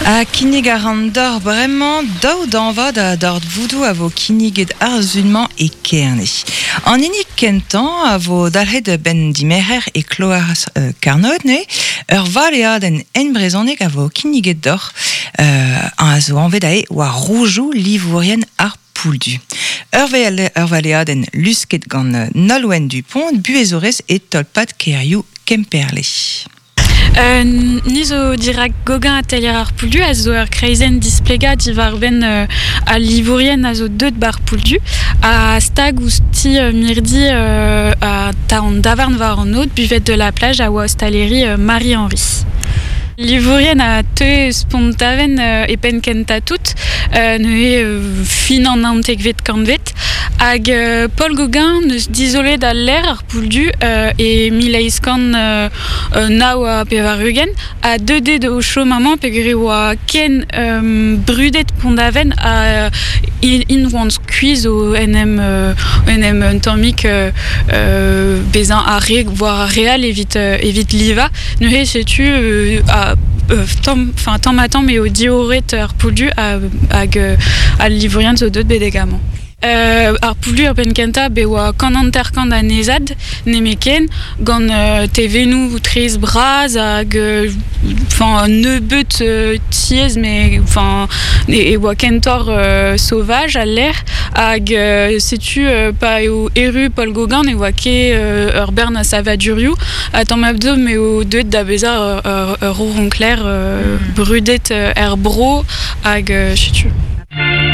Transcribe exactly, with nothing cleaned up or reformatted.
A kinnig ar an d'or bremañ daou danvad a d'or voudou a vo kinniget ar zunmañ e kerne. An hini kentañ a vo dalc'het ben dimerc'her e kloar euh, Karnod, ne ur valeadenn en brezhoneg a vo kinniget d'or euh, a zo anvet ae war roujou livourien ar pouldu. Ur vale, ur valeadenn lusket gant Nolwenn Dupont, buezorez e tolpad kerioù Kemperle. Euh, ni zo dirak Gauguin atelier ar pouldu a zo ur kreizenn displega diwar ben euh, a livourien a zo deut bar pouldu a stag ouzh ti euh, mirdi euh, a ta an davarn war an aod buvette de la plage a oa ostaleri euh, Marie-Henri. Livourien a teue spontaven euh, e penn kenta tout, euh, neuze euh, fin an naontekvet kantvet, hag euh, Paul Gauguin neus dizolet al l'air ar pouldu euh, e mil eizh kant euh, euh, nav ha pevar-ugent, a deux de o chom amañ peogwir oa ken euh, brudet Pont-Aven a in, in oant skuizh o en em, euh, en em un tammig euh, euh, bezañ ar re, war ar re all evit, euh, evit liva. Neuze setu euh, a euh, tamm, enfin tamm ha tamm eo diorret ar pouldu ha, hag euh, al livourien zo deut betek amañ. Euh, ar pouldu ar penn kentañ be oa kant hanter-kant anezhad nemeken gant euh, tevennoù traezh bras hag euh, enfin nebeut euh, tiez mais enfin e, e oa kentoc'h euh, sauvage al lec'h hag euh, setu euh, pa eo erru Paul Gauguin ne oa ket euh, ur bern a savadurioù ha tamm abdo m'eo deuet da bezañ ur, ur, ur roncler euh, mm. brudet euh, er bro hag euh, setu.